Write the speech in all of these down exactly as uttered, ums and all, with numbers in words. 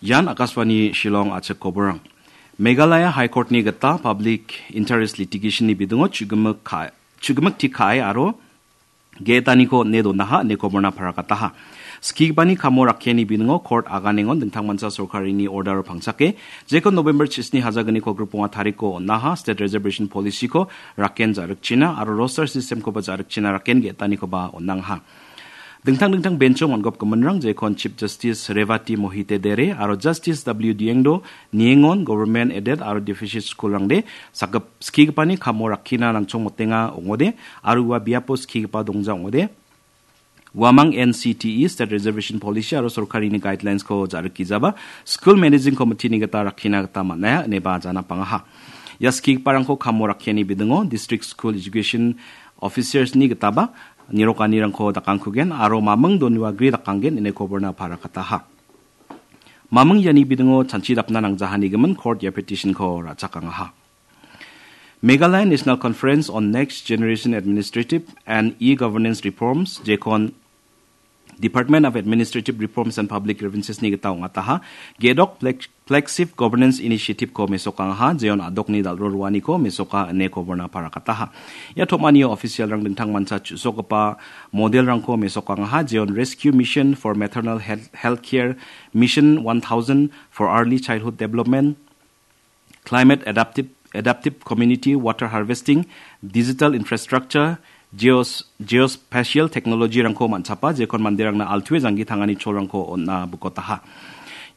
Ian Akashvani Shillong achik koborang. Meghalaya High Court-ni gita public interest litigation-ni bidingo chugimik ka-, chugimik tik ka·e aro ge·etaniko on·e donaha ine koborna parakataha. Skigipani kamo rakkiani bidingo court aganengon dingtangmancha sorkarini order pangchake, jekon November chisni hajagniko griponga tariko on·aha state reservation policy-ko rakken ja·rikchina aro roster system-koba ja·rikchina rakken ge·etanikoba on·angaha. Dingtang dingtang bench-o on·gopgiminrang jekon Chief Justice Revati Mohite Dere aro Justice W Diengdo niengon government aided aro deficit school-rangde sakgip-, skigipani kamo rakkina nangchongmotenga ong·ode aro ua biapo skigipa dongja ong·ode. Uamang N C T E State Reservation Policy aro sorkarini guidelines-ko ja·rikgijaba School Managing Committee-ni gita rakkina gita man·aia ineba janapangaha. Ia skigiparangko kamo rakkiani bidingo District School Education Officers-ni gitaba nirokanirangko dakangkugen aro maming doniwagri dakanggen ine koborna parakataha. Maming iani bidingo chanchi dapna nangjahanigimin court ia petition-ko ra·chakangaha. Meghalaya National Conference on Next Generation Administrative and E-Governance Reforms, jekon Department of Administrative Reforms and Public Grievances-ni gita ong·ataha, gedok flag-, flagship governance initiative-ko mesokangaha, jeon a·dokni dal·ro roaniko mesoka ine koborna parakataha. Ia tom·anio official-rang dingtangmancha chu·sokgipa model-rangko mesokangaha, jeon Rescue Mission for Maternal Health, Healthcare, Mission one thousand for Early Childhood Development, Climate Adaptive, Adaptive Community, Water Harvesting, Digital Infrastructure, Geos-, Geospatial Technology-rangko man·chapa, jekon manderangna altue janggi tangani cholrangko on·a bukotaha.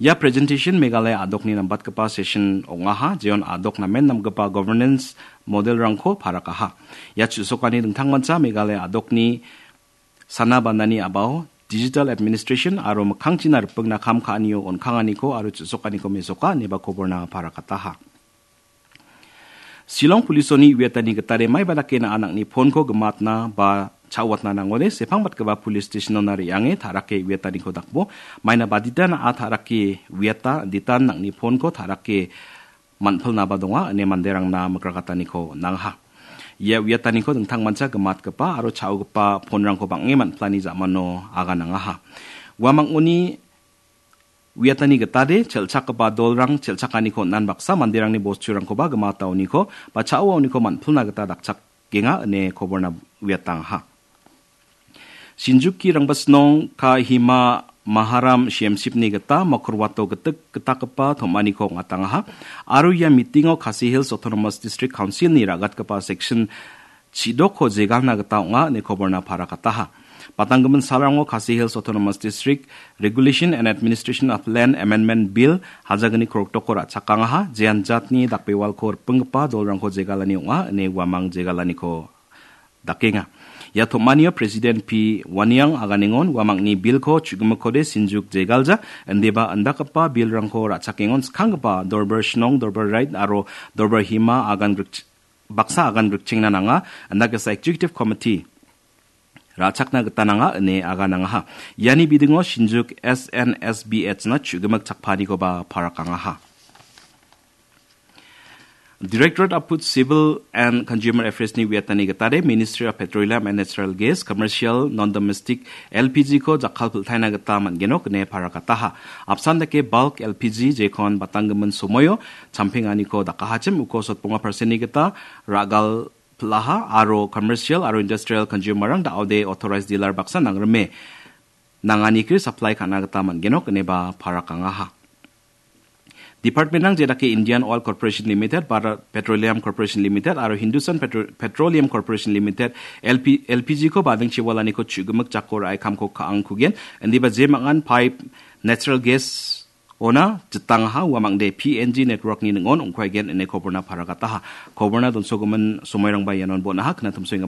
Ia presentation Meghalaya a·dokni nambatgipa session ong·aha, jeon a·dok namen namgipa governance model-rangko parakaha. Ia chu·sokani dingtangmancha Meghalaya a·dokni sana banani a·bao, digital administration aro mikkangchina ripengna kam ka·anio on·kanganiko aro chu·sokaniko mesoka ineba koborna parakataha. Shillong Police-oni uiatani gitade maiba dake na·a nang·ni phone-ko gimatna ba cha·uatna nangode, sepangbatgipa police station-ona re·ange ta·rake uiataniko dakbo, maina badita na·a ta·rake uiata, ditan nang·ni phone-ko ta·rake man·pilnaba donga, ine manderangna mikrakataniko on·angaha. Ia uiataniko dingtangmancha gimatgipa aro cha·ogipa phone-rangko bang·e man·pilani ja·mano aganangaha. Uamangoni uiatani gitade chel·chakgipa dolrang chel·chakaniko on·an baksa manderangni bosturangkoba gimataoniko ba cha·oaoniko man·pilna gita dakchak genga ine koborna uiatangaha. Shinjuki Rangbasnong Kohima Maharam Siyemsipni gita Mokorwato gitik gitakgipa tom·aniko ong·atangaha. Aro ia meeting-o Khasi Hills Autonomous District Council-ni ra·gatgipa section chidokko jegalna gita ong·a ine koborna parakataha. Patanggimin salrango Khasi Hills Autonomous District Regulation and Administration of Land Amendment Bill hajagni krokdokko ra·chakangaha, jean jatni dakbewalko ripenggipa dolrangko jegalani ong·a ine uamang jegalaniko dakenga. Ia tom·anio President P Waniang aganengon uamangni bilko chu·gimikkode sinjuk jegalja, indeba indakgipa bilrangko ra·chakengon skanggipa Dorbar Shnong, Dorbar Right aro Dorbar Hima agan grik-, baksa agan grikchengna nanga, indakesa Executive Committee ra·chakna gita nanga ine aganangaha. Iani bidingo Shinjuk S N S B H-na chu·gimik chakpanikoba parakangaha. Directorate of Food, Civil and Consumer Affairs-ni uiatani gitade Ministry of Petroleum and Natural Gas, Commercial, Non-Domestic L P G-ko jakkalpiltaina gita man·genok ine parakataha. Apsan dake bulk L P G jekon batanggimin somoio champenganiko dakahachim uko sotbonga percent-ni gita ra·gal pilaha aro commercial aro industrial consumer-rang da·ode authorized dealer baksa nangrime nanganigri supply ka·na gita man·genok ineba parakangaha. Department-rang jedake Indian Oil Corporation Limited, Bharat Petroleum Corporation Limited aro Hindustan Petro-, Petroleum Corporation Limited L P, L P G-ko bading chiwalaniko chu·gimik jako ra·e kamko ka·angkugen, indiba jemangan pipe natural gas ona jitangaha uamangde P N G network-ni ning·on ong·kuaigen ine koborna paragataha. Koborna donsogimin somoirangba ianon bon·aha, knatumsoenga